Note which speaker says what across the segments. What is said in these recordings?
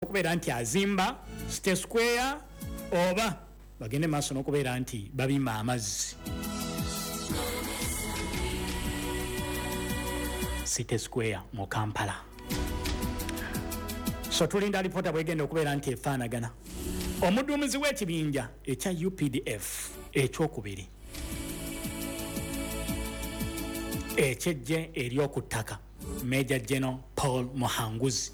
Speaker 1: Okubeera nti azimba City Square oba bagende maaso n'okubeera nti babimba amazzi City Square mu Kampala. So tulinda alipoota bwegenda okubeera nti efaanagana. Omuduumizi w'ekibinja ekya UPDF ekyokubiri ekyejje ery'oku ttaka, Major General Paul Muhanguzi,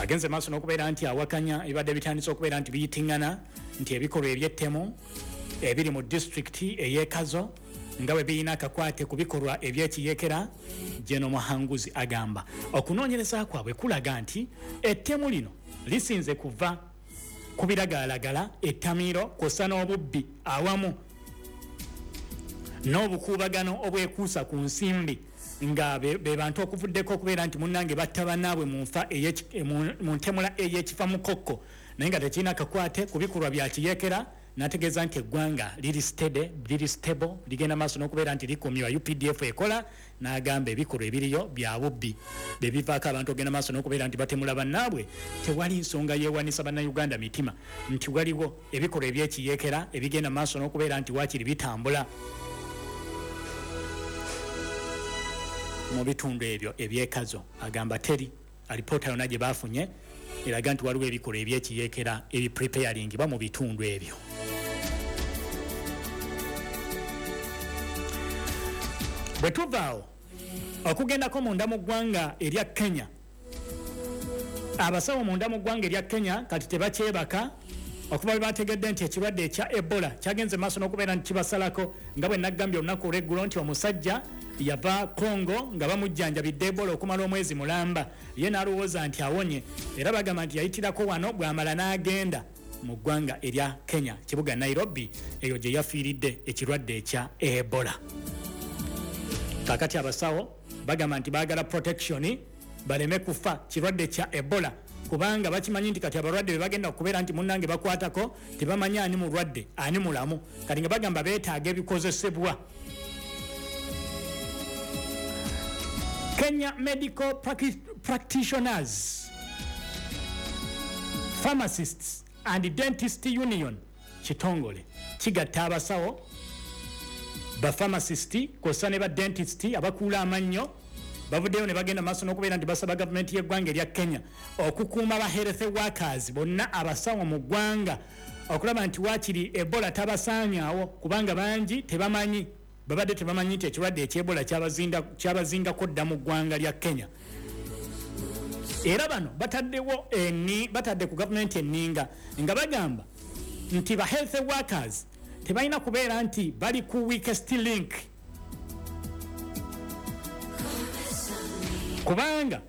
Speaker 1: agenze maaso n'okubeera nti awakanya ebibadde bitandise okubeera nti biyitingana nti ebikolwa eby'ettemu ebiri mu disitulikiti ey'e Kazo nga bwe birina akakwate ku bikolwa eby'ekiyekera. General Muhanguzi agamba okunoonyereza kwabwe kulaga nti ettemu lino lisinze kuva ku biragalalagala, ettamiiro kw'ossa n'obubbi awamu n'obukuubagano obwekuusa ku nsimbi, nga be bantu okuvuddeko okubeera nti munnange batta bannaabwe mu nfa mu ntemula ey'ekifa mukokko, naye nga tekirina kakwate ku bikolwa bya kiyeekera. N'ategeeza nti eggwanga liri steady, liri stable, ligenda maaso n'okubeera nti likumywa, UPDF ekola. N'agamba ebikolwa ebiriyo bya bubbi be bivaako abantu ogenda maaso n'okubeera nti batemula bannaabwe. Tewali nsonga yeewanisa Bannayuganda mitima nti waliwo ebikolwa ebyekiyeekera ebigenda maaso n'okubeera nti waakiri bitambula mu bitundu ebyo eby'e Kazo. Agamba teri alipoota yonna gye baafunye eraga nti waliwo ebikolwa ebyekiyeekera ebipreparingibwa mu bitundu ebyo. Bwe tuvaawo okugendako munda mu ggwanga erya Kenya, abasawo munda mu ggwanga erya Kenya kati tebakyebaka okuva bwe bategedde nti ekirwadde ekya Ebola kyagenze maaso n'okubeera nti kibasalako. Nga bwe naggambye olunaku olw'eggulo nti omusajja yava Congo nga bamujjanjabidde Ebola okumala omwezi mulamba, ye n'alowooza nti awonye, era bagamba nti yayitirako wano, bw'amala n'agenda mu ggwanga erya Kenya, kibuga Nairobi, eyo gye yafiiridde ekirwadde ekya Ebola. Kakati abasawo bagamba nti baagala protection baleme kufa kirwadde kya Ebola, kubanga bakimanyi nti kati abalwadde be bagenda okubeera nti munnange bakwatako tebamanyi ani mulwadde ani mulamu. Kati nga bagamba beetaaga ebikozesebwa. Kenya Medical Practitioners, Pharmacists and Dentist Union kitongole kigatta abasawo, bapharmacist kw'ossa ne badentist abakuula amannyo. Bavuddeyo ne bagenda maaso n'okubeera nti basaba gavumenti y'eggwanga erya Kenya okukuuma ba health workers bonna, abasawo mu ggwanga, okulaba nti waakiri Ebola tabasaanyaawo, kubanga bangi tebamanyi, babadde tebamanyi nti ekirwadde eky'Ebola kyabazingako dda mu ggwanga lya Kenya. Era bano bataddewo eni batadde ku gavumenti enninga nga bagamba nti ba health workers tebalina kubeera nti bali ku weakest link, kubanga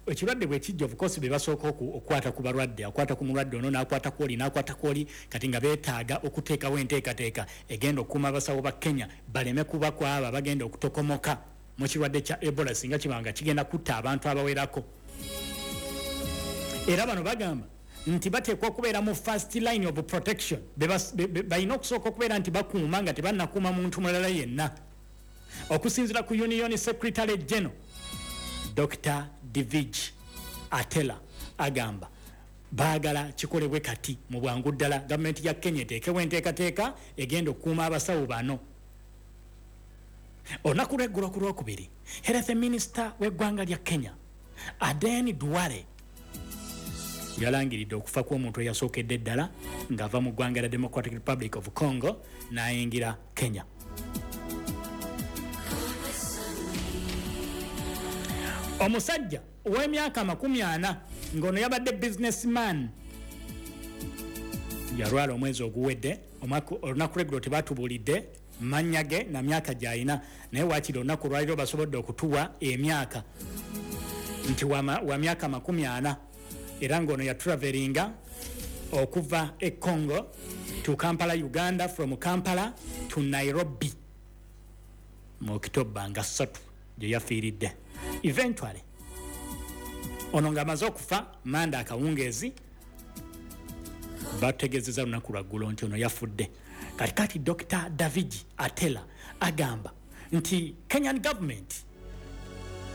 Speaker 1: ekirwadde bwe kijja, of course be basooka okukwata ku balwadde, akwata ku mulwadde ono n'akwata ku oli n'akwata ku oli. Kati nga beetaaga okuteekawo enteekateeka egenda okukuuma abasawo ba Kenya baleme kuba ku abo abagenda okutokomoka mu kirwadde kya Ebola singa kiba nga kigenda kutta abantu abawerako. Era bano bagamba nti bateekwa okubeera mu first line of protection, balina okusooka okubeera nti bakuuma nga tebannakuuma muntu mulala yenna. Okusinziira ku union secretary general Dr Divij Atela, agamba baagala kikolebwe kati mu bwangu ddala, gavumenti ya Kenya eteekewo enteekateeka egenda okukuuma abasawo bano. Olunaku lweggulo ku Lwokubiri, health minister w'eggwanga lya Kenya Aden Duale yalangiridde okufa kw'omuntu eyasookedde ddala ng'ava mu ggwanga lya Democratic Republic of Congo n'ayingira Kenya. Omusajja ow'emyaka 40 ng'ono yabadde businessman yalwala omwezi oguwedde. Olunaku lweggulo tebatubuulidde mannya ge na myaka gy'alina, naye waakiri olunaku olwaliro basobodde okutuwa emyaka nti wa myaka 40, era ng'ono yatravelinga okuva e Congo to Kampala, Uganda, from Kampala to Nairobi mu Okitoba nga 3 gye yafiiridde. Eventually ono ng'amaze okufa manda akawungeezi, bategeezeza lunaku lwaggulo nti ono yafudde. Kati kati Dr David Atela agamba nti Kenyan government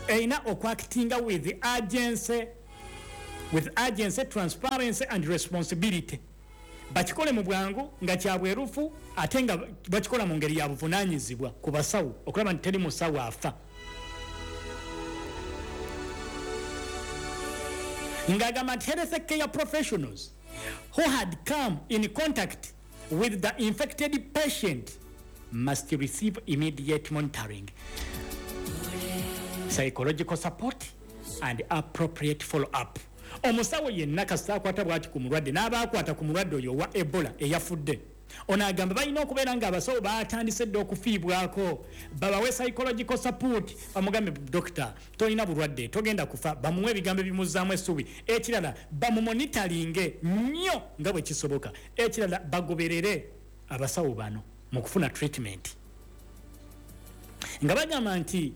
Speaker 1: erina okuactinga with urgency. With urgency, transparency and responsibility. Bakikole mu bwangu nga kya bwerufu ate nga bakikola mu ngeri ya buvunaanyizibwa ku basawo okulaba nti teri musawo afa. Ng'agamba nti health care professionals who had come in contact with the infected patient must receive immediate monitoring, psychological support and appropriate follow-up. Omusawo yenna kasita akwata bwati ku mulwadde n'abaakwata ku mulwadde oyo owa Ebola eyafudde, ono agamba balina okubeera nga abasawo batandise dda okufiibwako, babawe psychological support, bamugambe dokita tolina bulwadde, togenda kufa, bamuwe ebigambo ebimuzzaamu essuubi. Ekirala bamumonitalinge nnyo nga bwe kisoboka. Ekirala bagoberere abasawo bano mu kufuna treatment, nga bagamba nti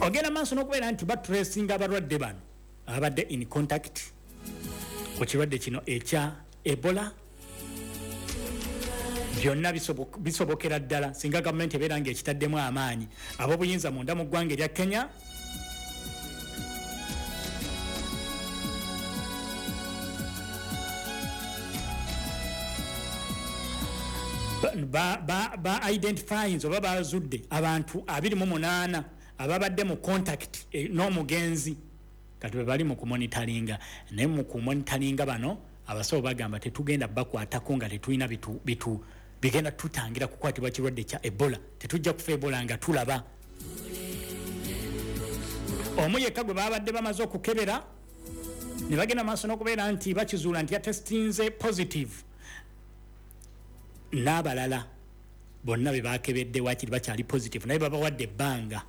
Speaker 1: ogenda maaso n'okubeera nti batracinga abalwadde bano abadde in contact ku kirwadde kino ekya Ebola. Byonna bisobokera ddala singa gavumenti ebeera ng'ekitaddemu amaanyi. Ab'obuyinza munda mu ggwanga erya Kenya ba identifying oba bazudde abantu 28 ababadde mu contact n'omugenzi, kati be bali mu kumonitaringa. Naye mu kumonitaringa bano abasawo bagamba tetugenda bakwatako nga tetulina bitu bigenda tutangira kukwatibwa kirwadde kya Ebola, tetujja kufa Ebola nga tulaba. Omu yekka gwe babadde bamaze okukebera ne bagenda maaso n'okubeera nti bakizuula nti yatestinze positive, n'abalala bonna be bakebedde wakiri bakyali positive, naye babawadde ebbanga.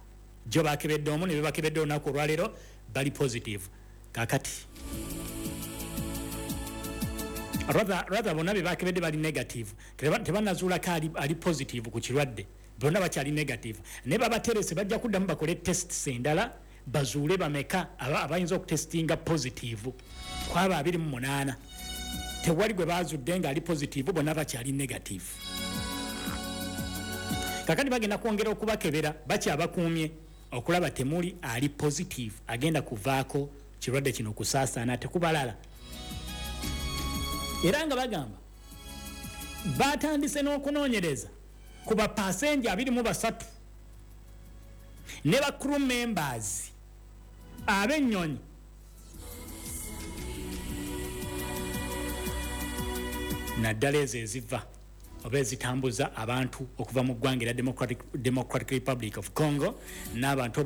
Speaker 1: Jo bakebedde omu ne bebakebedde olunaku olwaleero bali positive. Kakati rather bonna be bakebedde bali negative, tebanazuulako ali positive ku kirwadde, bonna bakyali negative, naye babaterese bajja kuddamu bakole tests endala bazuule bameka abayinza okutestinga positive. Kwaba 28 tewali gwe bazudde nga ali positive, bonna bakyali negative. Kakati bagenda kwongera okubakebera, bakyabakuumye okulaba temuli ali positive agenda kuvaako kirwadde kino kusaasaana tekubalala. Era nga bagamba batandise n'okunoonyereza ku bapasenja 23 ne ba crew members ab'ennyonyi naddala ezo eziva oba ezitambuza abantu okuva mu ggwanga erya Democratic Republic of Congo, n'abantu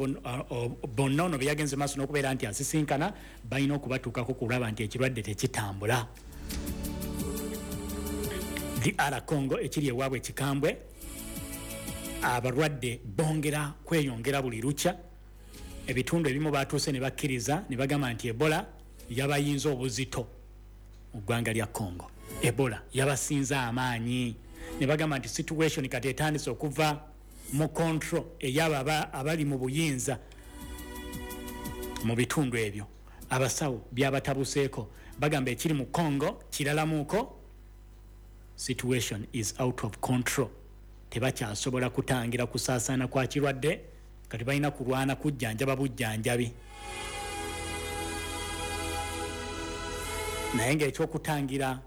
Speaker 1: bonna ono be yagenze maaso n'okubeera nti asisinkana balina okubatuukako kulaba nti ekirwadde tekitambula. DR Congo ekiri ewaabwe ekikambwe, abalwadde bongera kweyongera buli lukya. Ebitundu ebimu batuuse ne bakkiriza ne bagamba nti Ebola yabayinza obuzito mu ggwanga lya Congo. Ebola yabasinza amaanyi ne bagamba nti situation kati etandise okuva mu control ey'abo abali mu buyinza mu bitundu ebyo. Abasawo byabatabuseeko, bagamba ekiri mu Congo kiralamuko, situation is out of control, tebakyasobola kutangira kusaasaana kwa kirwadde, kati balina kulwana kujjanjaba bujjanjabi. Naye ng'ekyokutangira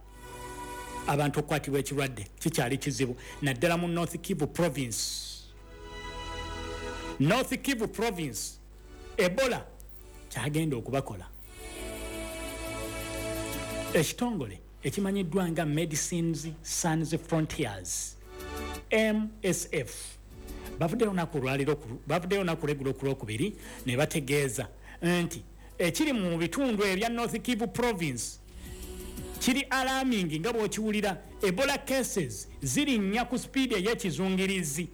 Speaker 1: abantu okukwatibwa ekirwadde kikyali kizibu, naddala mu North Kivu province. North Kivu province Ebola kyagenda okubakola. Ekitongole ekimanyiddwa nga Medecines Sans Frontiers MSF bavuddeyo olunaku lweggulo ku Lwokubiri ne bategeeza nti ekiri mu bitundu ebya North Kivu province kiri alarming nga bw'okiwulira. Ebola cases zirinnya ku sipiidi ey'ekizungirizi.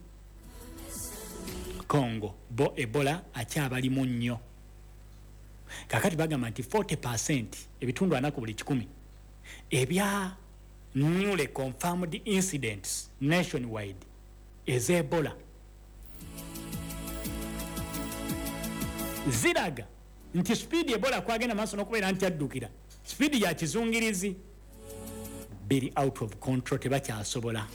Speaker 1: Congo bo Ebola akyabalimu nnyo. Kakati bagamba nti 40%, ebitundu 40 ku buli 100 ebya newly confirmed incidents nationwide ez'Ebola ziraga nti sipiidi Ebola kwagenda maaso n'okubeera nti addukira sipiidi ya kizungirizi, biri out of control, tebakyasobola.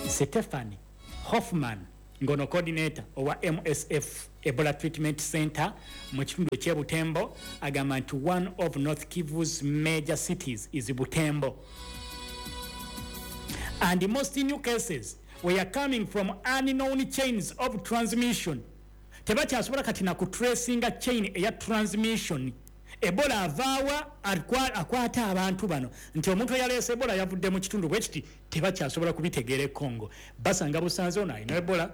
Speaker 1: Stephanie Hoffman Ngono coordinator owa MSF Ebola Treatment Center mu kitundu eky'e Butembo agamba nti one of North Kivu's major cities is Butembo and most new cases were coming from unknown chains of transmission. Tebakyasobola kati na kutracinga chain eya transmission, Ebola avaawa akwata abantu bano, nti omuntu eyaleese Ebola yavudde mu kitundu bwe kiti, tebakyasobola kubitegeera. E Congo basanga busanze ono alina Ebola,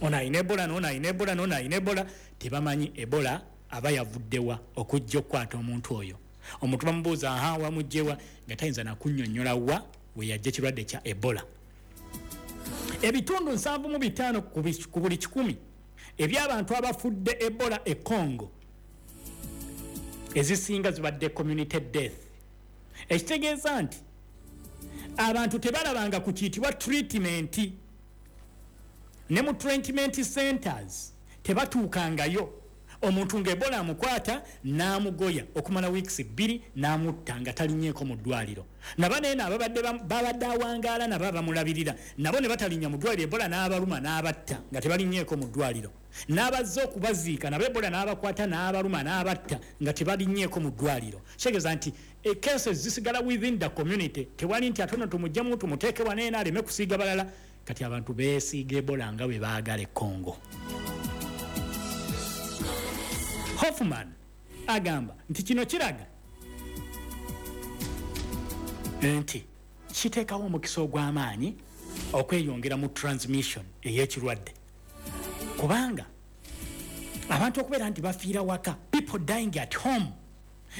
Speaker 1: ono alina Ebola, nono alina Ebola, nono alina Ebola. Tebamanyi Ebola aba yavuddewa okujja okukwata omuntu oyo. Omuntu bamubuuza, "Aha, wamugjewa?" nga tayinza nakunnyonnyola wa we yajja ekirwadde kya Ebola. Ebitundu 75 ku buli 100 ebyabantu abafudde Ebola e Congo, ezisinga zibadde community death, ekitegeeza nti abantu tebalabanga ku kiyitibwa treatment, ne mu treatment centers tebatuukangayo. Omuntu nga Ebola amukwata n'amugoya okumala weeks 2 n'amutta nga talinyeeko mu ddwaliro. Nabaneeno ababadde babadde awangaala nabo abamulabirira nabo ne batalinnya mu ddwaliro, Ebola n'abaluma n'abatta nga tebalinyeeko mu ddwaliro. N'abazze okubaziika nabo Ebola n'abakwata n'abaluma n'abatta nga tebalinyeeko mu ddwaliro. Kitegeeza nti cases zisigala within the community. Tewali nti ate ono tumuggyemu tumuteeke waneeno aleme kusiiga balala. Kati abantu beesiiga Ebola nga bwe baagala e Congo. Hoffman agamba nti kino kiraga nti kiteekawo omukisa ogw'amaanyi okweyongera mu transmission ey'ekirwadde, kubanga abantu okubeera nti bafiira waka, people dying at home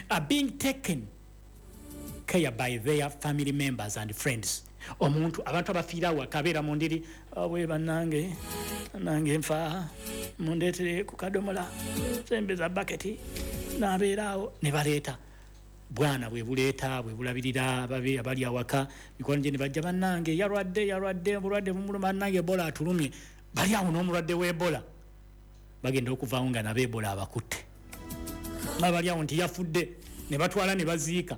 Speaker 1: are being taken care by their family members and friends. Omuntu, abantu abafiira awaka abeera mu ndiri, "Bwe bannange, nange nfa, mundeetere ku kadomola, sembeza baketi," n'abeera awo ne baleeta bwana bwe buleeta bwe bulabirira babe abali awaka. Mikwano gye ne bajja, "Bannange, yalwadde, yalwadde, obulwadde bumuluma, bannange, Ebola atulumye." Bali awo n'omulwadde w'Ebola, bagenda okuvaawo nga nabo Ebola abakutte. Nga bali awo nti yafudde, ne batwala ne baziika.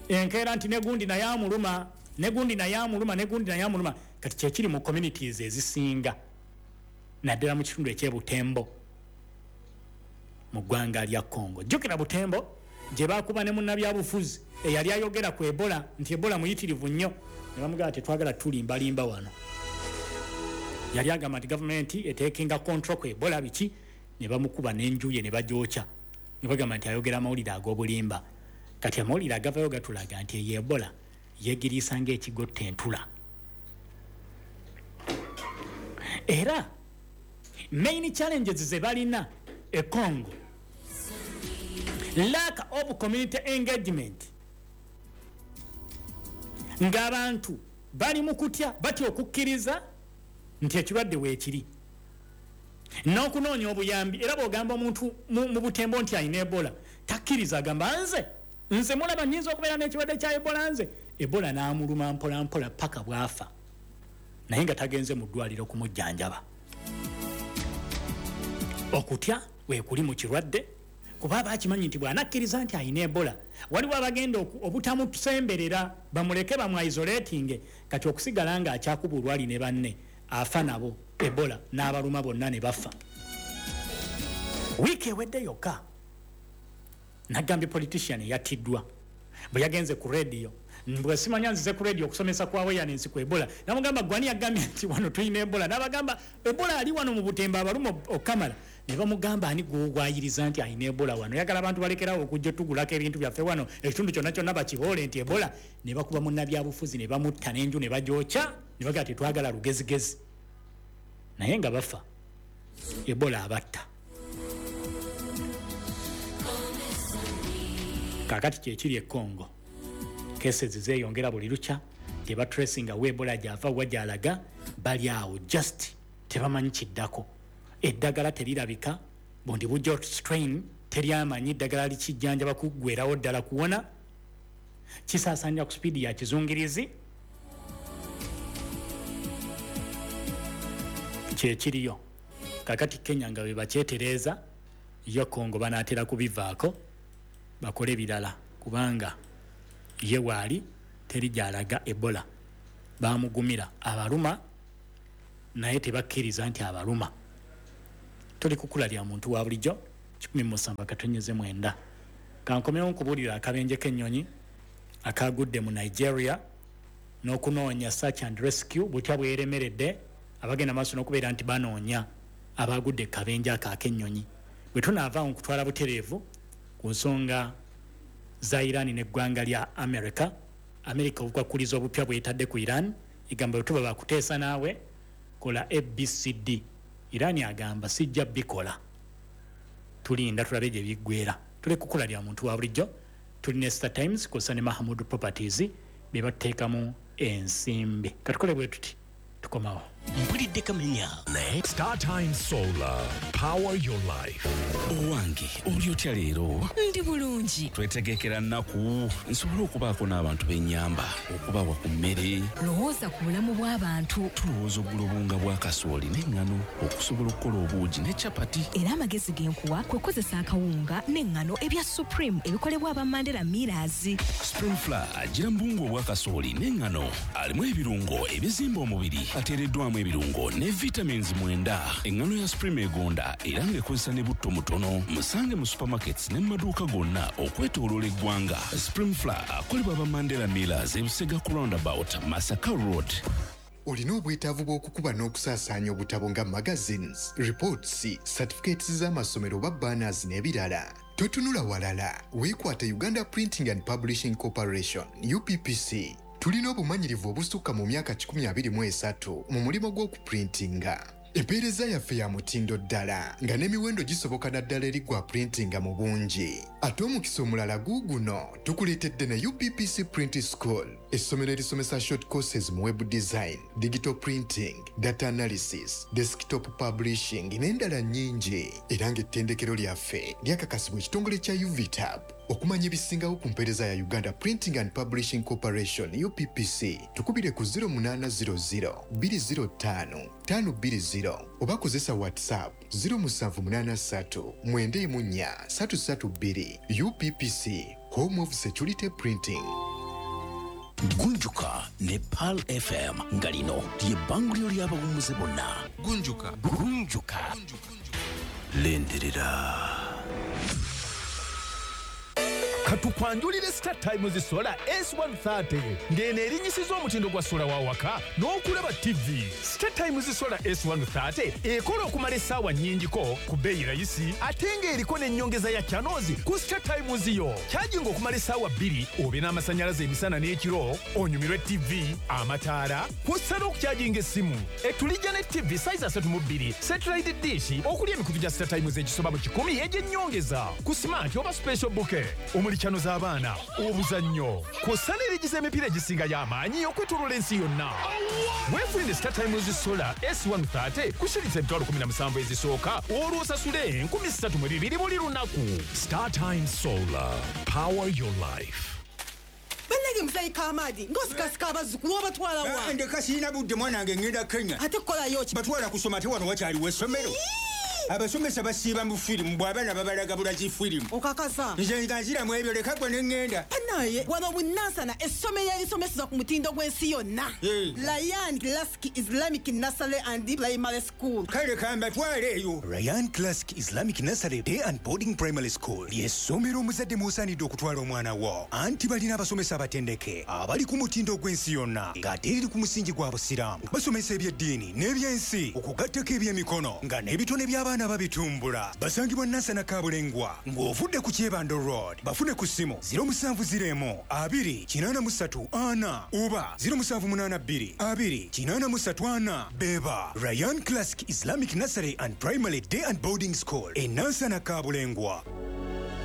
Speaker 1: Enkeera nti negundi naye amuluma, negundi naye amuluma, negundi naye amuluma. Kati kyekiri mu communities ezisinga, naddala mu kitundu ekyebutembo mu ggwanga lya Congo. Jjukira Butembo gye bakuba ne munnabyabufuzi eyali ayogera ku Ebola nti Ebola muyitirivu nnyo, ne bamugamba, "Tetwagala tulimbalimba wano." Yali agamba nti gavumenti etakinga control ku Ebola biki, ne bamukuba n'enju ye ne bagyokya, ne bagamba nti ayogera amawulire ag'obulimba. Kati amawulire agavayo gatulaga nti eyo Ebola yegiriisa ng'ekigotta entula. Era main challenges ze balina e Congo, lack of community engagement, ng'abantu bali mu kutya, batya okukkiriza nti ekirwadde weekiri n'okunoonya obuyambi. Era bw'ogamba omuntu mu Butembo nti alina Ebola, takkiriza. Agamba, "Nze, nze mulaba nyinza okubeera n'ekirwadde kya Ebola? Nze?" Ebola n'amuluma mpola mpola paka bw'afa, naye nga tagenze mu ddwaliro kumujjanjaba. Okutya weekuli mu kirwadde, kuba aba akimanyi nti bw'anakkiriza nti alina Ebola, waliwo abagenda obutamusemberera, bamuleke bamwisolatinge. Kati okusigala nga akyakuba olwali ne banne, afa nabo, Ebola n'abaluma bonna ne bafa. Wiiki ewedde yokka nagambye politician eyattiddwa bwe yagenze ku rediyo, bwe simanya nzize ku rediyo okusomesa kwa awareness ku Ebola. Namugamba, "Gwani yagambye nti wano tulina Ebola?" Nabagamba, "Ebola ali wano mu Butembo, abaluma okamala." Ne bamugamba, "Ani gwogwayiriza nti alina Ebola wano? Yagala abantu balekerawo okujja tugulako ebintu byaffe wano, ekitundu kyonna kyonna bakiboole nti Ebola." Ne bakuba munnabyabufuzi ne bamutta n'enju ne bagyokya, ne bagamba, "Tetwagala lugezigezi." Naye nga bafa, Ebola abatta. Kakati kyekiri e Congo, cases zeeyongera buli lukya, tebatracinga wa Ebola gyava, wa gyalaga. Bali awo just tebamanyi kiddako. Eddagala terirabika. Bundi bujja strain teryamanyi ddagala likijjanjaba kuggwerawo ddala kuwona. Kisaasaanira ku sipiidi ya kizungirizi. Kyekiriyo kakati. Kenya nga bwe bakyetereeza, yo Congo banaatera kubivaako bakole birala, kubanga ye waali teri gyalaga. Ebola bamugumira, abaluma Naye tebakkiriza nti abaluma. Tuli kukula lya muntu wa bulijjo 107.9. Kankomewo nkubuulira akabenje k'ennyonyi akagudde mu Nigeria n'okunoonya search and rescue butya bweremeredde abagenda maaso n'okubeera nti banoonya abagudde kabenje ako ak'ennyonyi. Bwe tunaavaawo nkutwala butereevu ku nsonga za Iran n'eggwanga lya America. America obukwakulizo obupya bwetadde ku Iran, egamba bwe tuba bakuteesa naawe kola ABCD. Iran agamba sijja bikola, tulinda tulabe gye biggwera. Tuli kukula lya muntu wa bulijjo, tuli ne Star Times kw'ossa ne Mahamud Properties be batuteekamu ensimbi. Katukole bwe tuti, tukomawo.
Speaker 2: Mpulidde kamenya naye.
Speaker 3: Star Times Solar. Power your life.
Speaker 2: Owange, oli otya leero?
Speaker 4: Ndi bulungi.
Speaker 2: Twetegekera nnaku nsobole okubaako n'abantu b'ennyamba, okubawa ku mmere.
Speaker 4: Lowooza ku bulamu bw'abantu.
Speaker 2: Tulowooza ogula obuwunga bwa kasooli n'eŋŋano okusobola okukola obuugi ne capati.
Speaker 4: Era amagezi ge nkuwa kwe kukozesa akawunga n'eŋŋano ebya Supreme ebikolebwa aba Mandela Millers.
Speaker 2: Supreme Flour agira mu buwunga obwa kasooli n'eŋŋano, alimu ebirungo ebizimba omubiri, ateereddwamu ebirungo ne vitamins 9. Eŋŋano ya Supreme egonda era ng'ekozesa ne butto mutono. Musange mu supermarkets ne mu maduuka gonna okwetooloola eggwanga. Supreme Flour akolebwa aba Mandela Millers, Ebusega ku roundabout, Masaka Road.
Speaker 5: Olina obwetaavu bw'okukuba n'okusaasaanya obutabo nga magazines, reports, certificates z'amasomero oba banners n'ebirala? Totunula walala, weekwate Uganda Printing and Publishing Corporation, UPPC. Tulina obumanyirivu obusukka mu myaka 123 mu mulimu gw'okuprintinga. Empeereza yaffe ya mutindo ddala nga n'emiwendo gisoboka naddala eri gwa printinga mu bungi. Ate omukisa omulala guuguno, tukuleetedde ne UPPC Print School, essomero erisomesa short courses mu web design, digital printing, data analysis, desktop publishing n'endala nnyingi, era ng'ettendekero lyaffe lyakakasibwa ekitongole kya UVTAB. Okumanya ebisingawo ku mpeereza ya Uganda Printing and Publishing Corporation, UPPC, tukubire ku 0800 205 520 oba kozesa WhatsApp 0783 94 332. UPPC, home of security printing.
Speaker 2: Gunjuka ne Pearl FM, nga lino lye bbanguliro ly'abawummuze bonna.
Speaker 6: Gunjuka.
Speaker 2: Gunjuka.
Speaker 6: Lindirira.
Speaker 7: Katukwanjulire Star Times Solar S130, ng'eno erinyisiza omutindo gwa sola wa waka n'okulaba TV. Star Times Solar S130 ekola okumala essaawa nnyingiko ku bbeeyi rayisi, ate ng'eriko n'ennyongeza ya channels ku Star Times yo. Kyajinga okumala essaawa 2 obe n'amasannyalaze emisana n'ekiro, onyumirwe TV, amataala, kw'ossa n'okukyajinga essimu. Etulijja ne TV size 32, satellite dish okuli emikutu gya Star Times egisoba mu 100 egy'ennyongeza ku smart oba special bouquet, omuli channel z'abaana, obuzannyo, kw'ossa n'erigiza emipiira egisingayo amaanyi okwetooloola ensi yonna. Weefunire Star Times Solar S130 ku shilingi 17,000 ezisooka, olwo osasule 3,200 buli lunaku.
Speaker 3: Star Times Solar. Power your life.
Speaker 8: Bannange, muzeeyi Kamaadi, ng'osikasika abazzukulu, obatwala wa?
Speaker 9: Ndeka, sirina budde mwana wange, ngenda Kenya.
Speaker 8: Ate kukolayo ki?
Speaker 9: Batwala kusoma, ate wano wakyaliwo essomero? Abasomesa basiiba mu firimu, bw'abaana babalaga bulazi firimu.
Speaker 8: Okakasa?
Speaker 9: Nze nga nziramu ebyo, leka gwe ne ŋŋenda.
Speaker 8: Banaye wano Bunansana, essomero erisomeseza ku mutindo gw'ensi yonna, Ryan Classic Islamic Nursery and Primary School.
Speaker 9: Kale kambatwale eyo.
Speaker 10: Ryan Classic Islamic Nursery Day and Boarding Primary School ly'essomero omuzadde mw'osaanidde okutwala omwana wo, anti balina abasomesa abatendeke abali ku mutindo gw'ensi yonna, ng'ate eriri ku musingi gwa Busiraamu. Basomesa ebyeddiini n'ebyensi, okugattako ebyemikono, nga n'ebitone by'abaana babitumbula. Basangibwa Nansana Kabulengwa ng'ovudde ku Kyebando Road. Bafune ku ssimu 0701 2 83 4 oba 0782 2 83 4. Beba Ryan Classic Islamic Nursery and Primary Day and Boarding School e Nansana Kabulengwa.